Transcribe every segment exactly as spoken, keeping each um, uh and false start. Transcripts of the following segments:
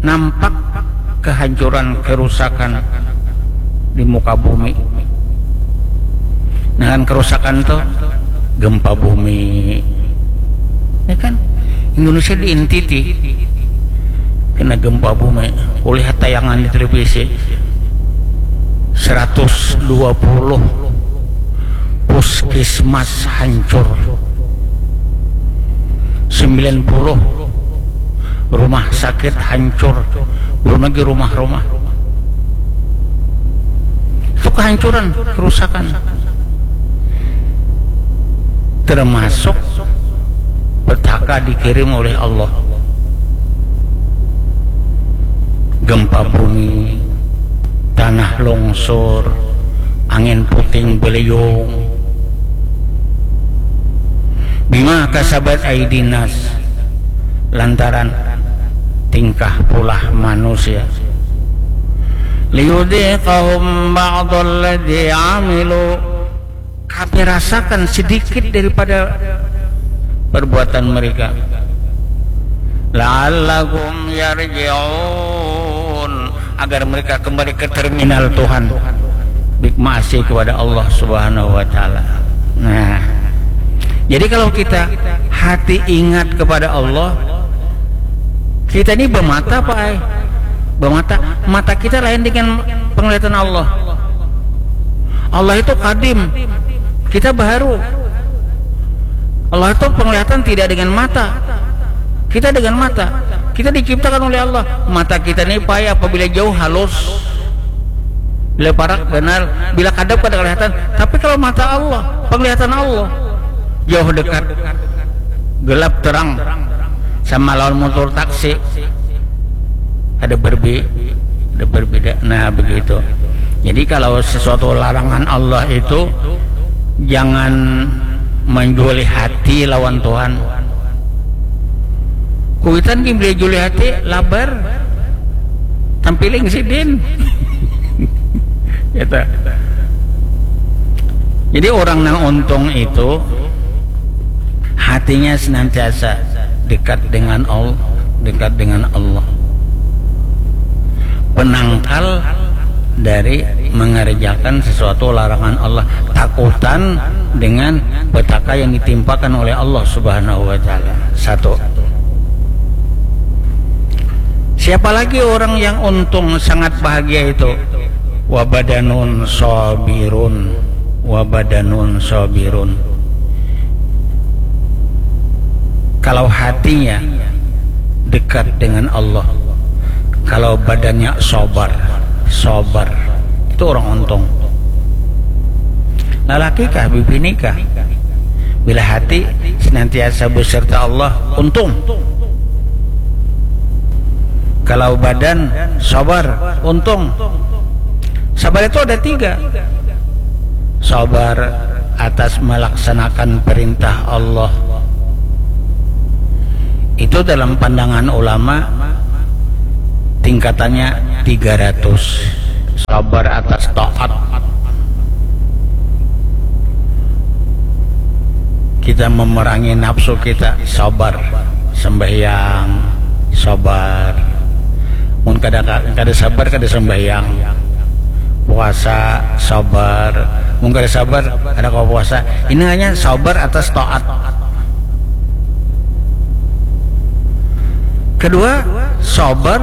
nampak kehancuran, kerusakan di muka bumi. Nah, kan kerusakan tuh gempa bumi. Ya kan? Indonesia diintiti kena gempa bumi. Kulihat tayangan di televisi, seratus dua puluh puskesmas hancur, sembilan puluh rumah sakit hancur, belum lagi rumah-rumah. Itu kehancuran, kerusakan. Termasuk petaka dikirim oleh Allah. Gempa bumi, tanah longsor, angin puting beliung. Bima kasabat aidinas, lantaran tingkah pulah manusia. Liyudziqahum ba'dalladzi amilu, kami rasakan sedikit daripada perbuatan mereka. La'allahum yarji'un, agar mereka kembali ke terminal Tuhan, bik maasi kepada Allah Subhanahu wa Ta'ala. Nah, jadi kalau kita hati ingat kepada Allah, kita ini bermata, Pak, eh. Bermata, mata kita lain dengan penglihatan Allah. Allah itu kadim, kita baru. Allah itu penglihatan tidak dengan mata, kita dengan mata. Kita diciptakan oleh Allah. Mata kita ini, Pak, apabila jauh halus, bila parak ganal, bila kadap kada kelihatan. Tapi kalau mata Allah, penglihatan Allah, jauh dekat, gelap terang, sama lawan motor taksi, ada berbi ada berbeda. Nah, begitu. Jadi kalau sesuatu larangan Allah itu, jangan menjuali hati lawan Tuhan. Kuitan gin beli juli hati, labar, tampiling sidin. Gitu. Jadi orang nang untung itu hatinya senantiasa dekat dengan Allah, dekat dengan Allah. Penangkal dari mengerjakan sesuatu larangan Allah, takutan dengan petaka yang ditimpakan oleh Allah Subhanahu wa Ta'ala. Satu. Siapa lagi orang yang untung, sangat bahagia itu? Wabadanun sabirun, wabadanun sabirun. Kalau hatinya dekat dengan Allah, kalau badannya sabar, sabar, itu orang untung. Lalaki kah, bibini kah? Bila hati senantiasa beserta Allah, untung. Kalau badan sabar, untung. Sabar itu ada tiga. Sabar atas melaksanakan perintah Allah. Itu dalam pandangan ulama tingkatannya tiga ratus. Sabar atas taat. Kita memerangi nafsu kita, sabar. Sembahyang, sabar. Mun kada, kada sabar, kada sembahyang. Puasa, sabar. Mun kada sabar, kada kawa puasa. Ini hanya sabar atas taat. Kedua, sabar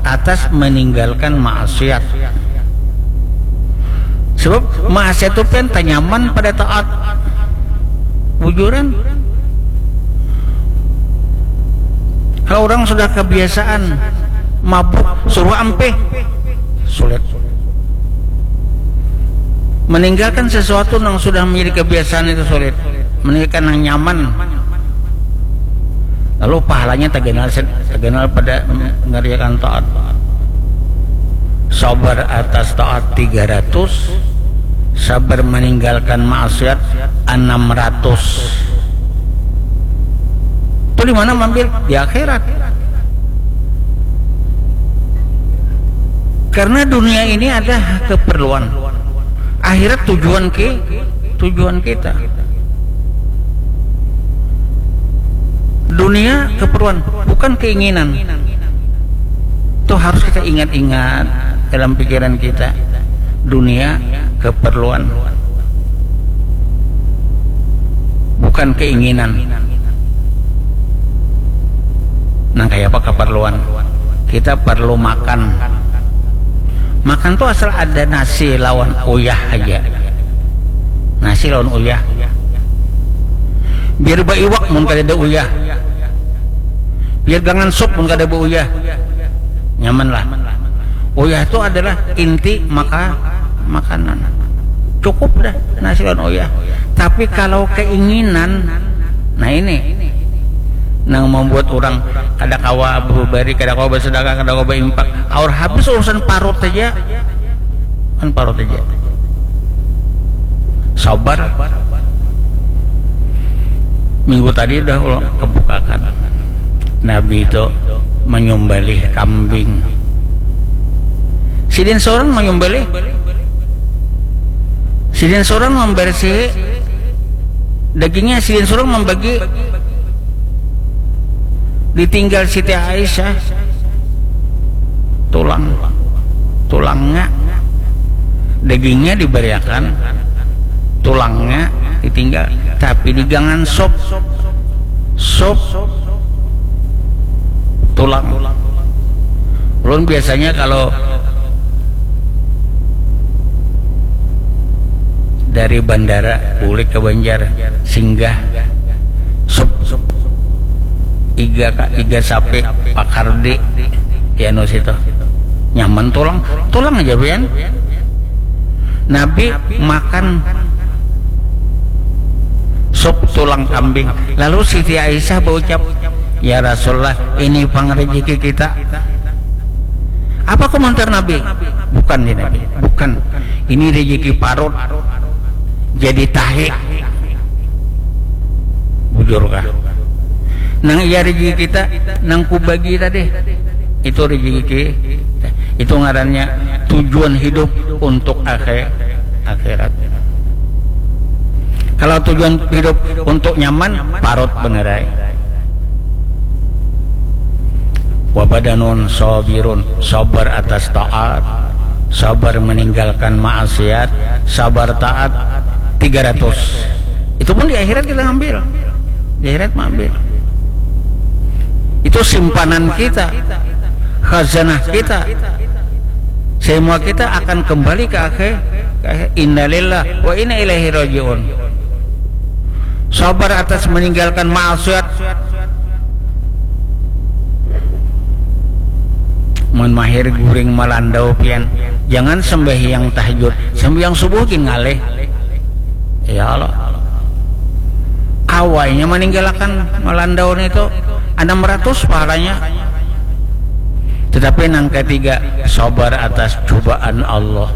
atas meninggalkan maksiat. Sebab maksiat tu pian tanyaman pada taat. Bujuran. Kalau orang sudah kebiasaan mabuk, suruh ampih, sulit. Meninggalkan sesuatu yang sudah menjadi kebiasaan itu sulit. Meninggalkan yang nyaman. Lalu pahalanya taganal, taganal pada mengerjakan taat. Sabar atas taat tiga ratus, sabar meninggalkan maksiat enam ratus. Itu di mana ambil? Di akhirat. Karena dunia ini ada keperluan. Akhirat tujuan ke tujuan kita. Dunia keperluan, bukan keinginan. harus kita ingat-ingat dalam pikiran kita, dunia keperluan, bukan keinginan. Nang kayak apa keperluan? Kita perlu makan. Makan tuh asal ada nasi lawan uyah aja. Nasi lawan uyah. Biar baiwak mun kada ada uyah. Biar gangan sup mun kada bauyah. Nyaman lah. Uyah itu adalah inti maka makanan. Cukup dah nasi lawan uyah. Tapi kalau keinginan, nah ini nang membuat orang kada kawa berubari, kada kawa bersedekah, kada kawa berimpak. Aur habis urusan parut saja, kan parut saja. Sabar. Minggu tadi udah kebukakan. Nabi itu menyembelih kambing. Sidin seorang menyembelih. Sidin seorang membersih dagingnya, sidin seorang membagi. Ditinggal Siti Aisyah tulang, tulangnya, dagingnya diberiakan, tulangnya ditinggal, tapi digangan sop, sop tulang. Ulun biasanya kalau dari bandara bulik ke Banjar, singgah sop iga ka iga sapi pakar di ya nu situ, nyaman tulang, tulang aja pian. Nabi makan sop tulang kambing. Lalu Siti Aisyah berucap, "Ya Rasulullah, ini pang rezeki kita." Apa komentar Nabi? Bukan, ya Nabi, bukan. Ini rezeki parut. Jadi tahi. Bujur kah? Nang iya rezeki kita, nang kubagi tadi. Itu rezeki, itu ngarannya tujuan hidup untuk akhir, akhirat. Kalau tujuan hidup untuk nyaman, parut benerai. Wabadanun sabirun, sabar atas taat, sabar meninggalkan maksiat, sabar taat, tiga ratus. Itu pun di akhirat kita ngambil. Di akhirat mengambil. Itu simpanan kita, khazanah kita. Semua kita akan kembali ke akhir, ke akhir. Innalillah wa inna ilaihi rajiun. Sabar atas meninggalkan maksiat. Mun mahir guring malandau pian, jangan sembahyang tahajud, sembahyang subuh gin ngalih. Ya Allah. Awainya meninggalkan malandau itu enam ratus pahalanya. Tetapi nang ketiga, sabar atas cobaan Allah.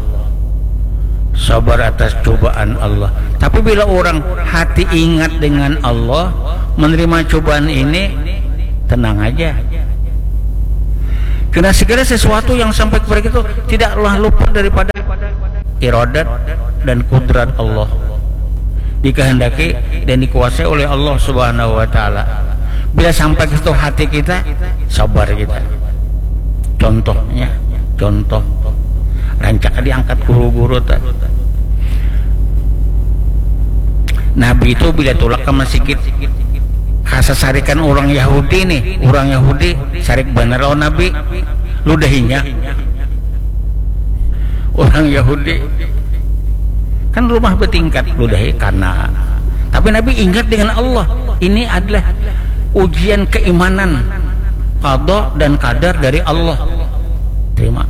Sabar atas cobaan Allah. Tapi bila orang hati ingat dengan Allah, menerima cobaan ini, tenang aja. Karena segala sesuatu yang sampai kepada kita tidaklah luput daripada iradat dan kudrat Allah. Dikehendaki dan dikuasai oleh Allah Subhanahu wa taala. Bila sampai ke situ hati kita, sabar kita. Contohnya, contoh. Rancak diangkat guru-guru tadi. Nabi itu bila tulak ke masjid, kasasarikan orang Yahudi nih, orang Yahudi sarik bener lawan Nabi, ludahinya. Orang Yahudi kan rumah bertingkat, ludahi karena. Tapi Nabi ingat dengan Allah. Ini adalah ujian keimanan, qada dan kadar dari Allah. Terima.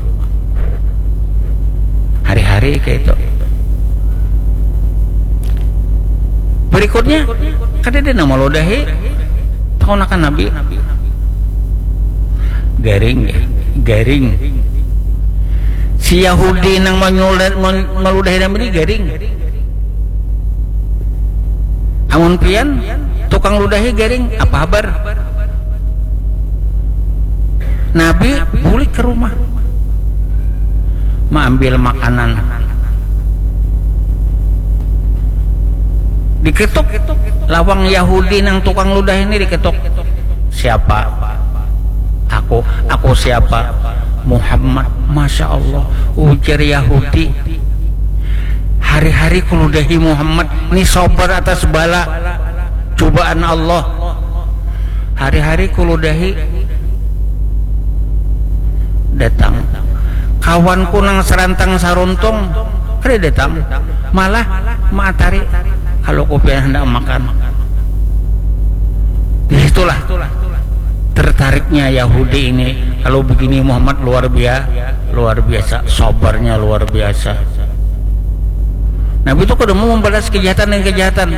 Hari-hari kayak itu. Berikutnya, kada ada nama ludahi. Tahu akan Nabi. Garing, garing. Si Yahudi nang manyulat, man-, maludahi Nabi ni garing. Amun pian, tukang ludahi garing, apa habar? Nabi bulik ke rumah, maambil makanan. Diketuk lawang Yahudi nang tukang ludahi ini, diketuk. Siapa? Aku. Aku siapa? Muhammad, Masya Allah, ujar Yahudi, hari-hari kuludahi Muhammad ni sabar atas bala, cubaan Allah. Hari-hari kuludahi datang kawanku nang sarantang saruntung, kada datang, malah maatari kalau kupian hendak makan. Di situlah tertariknya Yahudi ini. Kalau begini Muhammad luar biasa, luar biasa, sabarnya luar biasa. Nabi itu kada mau membalas kejahatan dengan kejahatan.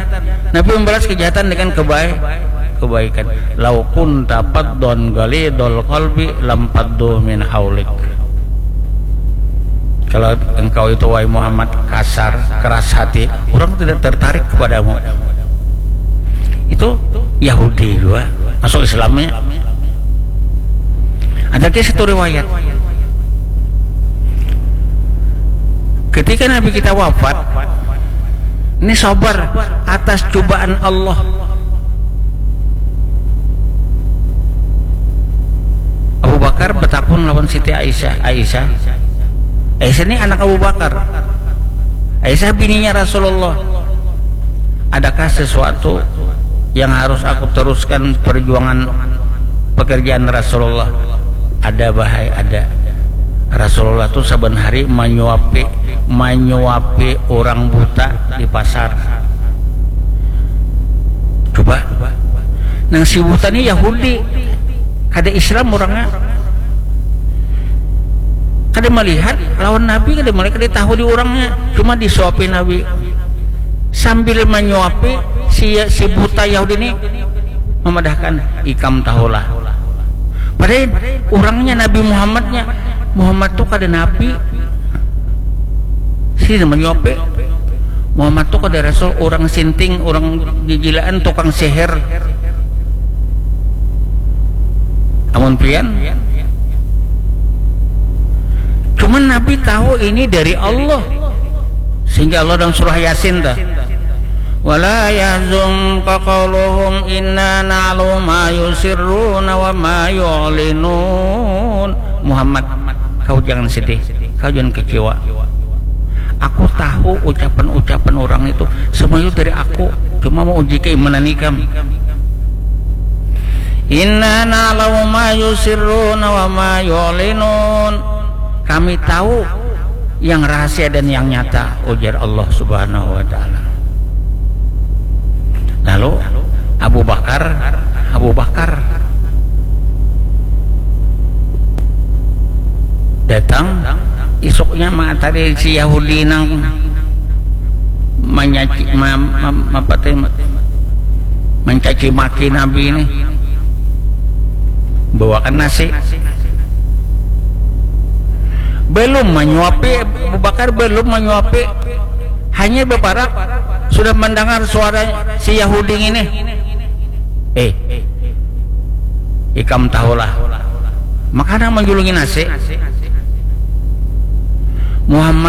Nabi membalas kejahatan dengan kebaik, kebaikan. Lau kunta faddan ghalidhal qalbi lam faddu min haulik. Kalau engkau itu, wahai Muhammad, kasar, keras hati, orang tidak tertarik kepadamu. Itu Yahudi juga masuk Islamnya. Ada kisah satu riwayat. Ketika Nabi kita wafat, ini sabar atas cobaan Allah. Abu Bakar bertakun lawan Siti Aisyah. Aisyah, Aisyah ini anak Abu Bakar. Aisyah bininya Rasulullah. Adakah sesuatu yang harus aku teruskan perjuangan pekerjaan Rasulullah? Ada, bahai, ada. Rasulullah tuh saban hari manyuapi, manyuapi orang buta di pasar. Coba, nang si buta ni Yahudi, kada Islam orangnya, kada melihat lawan Nabi, kada melihat, kada tahu di orangnya, cuma disuapi Nabi. Sambil menyuapi, si, si buta Yahudi ini memadahkan, ikam tahulah. Padahal orangnya Nabi Muhammadnya, Muhammad tuh kada nabi. Si menyuapi, Muhammad tuh kada rasul, orang sinting, orang gigilaan, tukang sihir. Amun pian, cuman Nabi tahu ini dari Allah. Sehingga Allah dalam surah Yasin dah, "Wala yahzunka qauluhum inna na'lamu ma yusirruna wa ma yu'linun." Muhammad, kau jangan sedih, kau jangan kecewa. Aku tahu ucapan-ucapan orang itu semua itu dari aku, cuma mau uji keimanan ikam. Inna na'lamu ma yusirruna wa ma yu'linun. Kami tahu yang rahasia dan yang nyata, ujar Allah Subhanahu wa Ta'ala. Lalu Abu Bakar, Abu Bakar datang isuknya, mengatakan si Yahudi nang menyaci, ma, ma, apa teh, mencaci maki Nabi ini, bawakan nasi. Belum menyuapi, Abu Bakar belum menyuapi, hanya beparak sudah mendengar suara si Yahudi ini. Eh, ikam tahulah. Makanan menjulungi nasi. Muhammad